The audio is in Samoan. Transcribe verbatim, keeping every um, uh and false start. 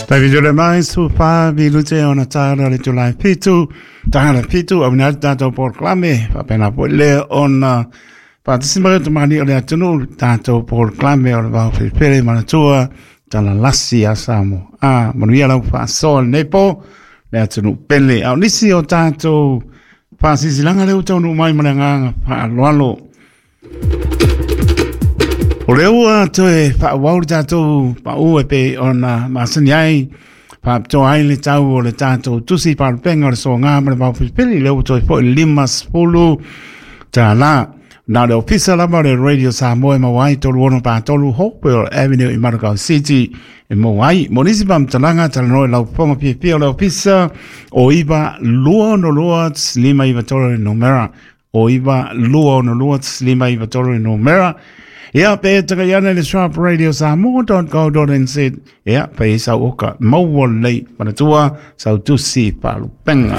Tavi mai su fa minute ona tala le tulai fitu, tala fitu au na tatou polokalame faapena foi lea ona faatasi mai tamani o le atunuu tatou polokalame o le vao felefele manatua talalasi a Samoa. A manuia lau faasoa lenei po le atunuu pele. A o nisi o tatou faasilasilaga lea ua taunuu mai ma le agaga faaaloalo. O lea ua toe faaauau le tatou pau e pei ona masani ai faapitoa ai le tau o le tatou tusi faalupega o le soaga ma le vaofelefele lea ua toe foi limasefulu tala. Na o le ofisa lava o le Radio Samoa e maua ai tolu ono patolu Hopewell Avenue i Manukau City e maua ai. Mo nisi faamatalaga talanoa i lau fofoga fiafia o le ofisa o iva lua ono lua lima iva tolu le numera o iva lua ono lua lima iva tolu le numera. Ia, pe tagai ane le sharp radio samoa dot co dot nz. Ia, pe sau oka maua lelei manatua sau tusi faalupenga.